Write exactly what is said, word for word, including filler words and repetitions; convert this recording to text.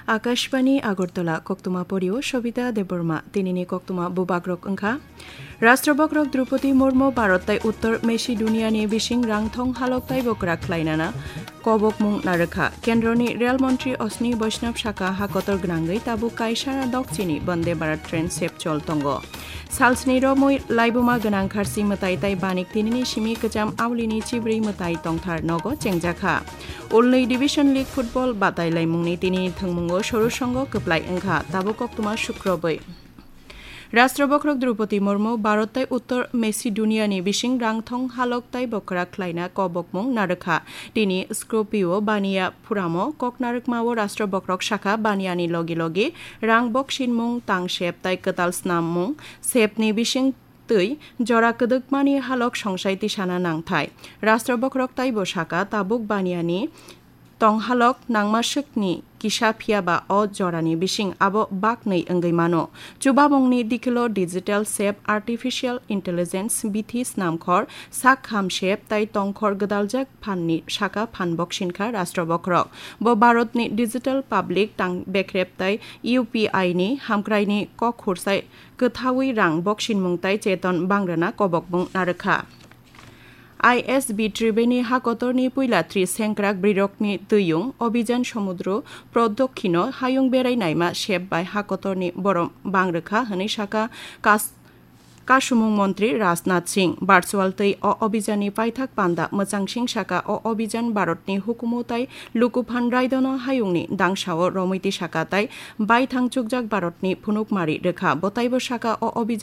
Akashbani Agartala, koktwma porio Sobita Debbarma. Tinini koktwma bubagrok wngkha: Rashtrabhagrok Droupadi Murmu Bharat tai Uttor Macedonia ni bising rangthong halok taibo kwrak khlainana kobokmung narwkha. Kendroni Rail Montri Ashwini Vaishnaw sakha, hakotor gwnangwi tabuk kaisara dokchini Vande Bharat train sep chol tongo. Salsni romwi laibuma gwnang kharsi mwtai tai banik tinini simi kwcham aulini chibrwi mwtai tongthar nogo chengjakha. Ulnwi Division League football batai laimungni tinini thwngmungo soru songo kwplai wngkha, tabuk koktwma sukrobwi. Rashtrabhagrok Droupadi Murmu Bharat tai Uttor Macedonia ni bising rangthong halok taibo kwrak khlaina kobokmung narwkha. Tini Skopje o baniya phuramo kok narwkmao Rashtrabhagrok sakha, baniyani logi logi rang boksinmung, tang sep tai kwtal snammung sepni bising twi jora kwdwkmani halok songsai tisana nangthai. Rashtrabhagrok taibo sakha, tabuk baniyani tong halok nangmaswkni kisa phiyaba o jorani bising abo baknwi wngwi mano. Chubamungni dikilo digital sep, artificial intelligence, bithi snamkhor, sak kham sep tai tongkhor gwdaljak phanni sakha phan boksinkha Rashtrabhagrok. Bo Bharatni digital public tang bekrep tai U P I ni hamkraini kok khursai kwthaui rang boksinmung tai cheton bangrwna kobokmung narwkha. I S B Tribeni hakotorni puila tri sengkrak brirokni twiyung Abhijan Samudro Prodokhino hayung berai naima sep bai hakotorni borom bangrwkha hwnwi sakha kas-, kasumung montri Rajnath Singh. Virtual twi o Abhijanni paithak panda mwchang sing sakha, o Abhijan Bharatni hukumu tai lukuphan raidono hayungni dangsao romwi tisakha tai baithang chukjak Bharatni phunukmari rwkha. Bo taibo sakha, o Abhijan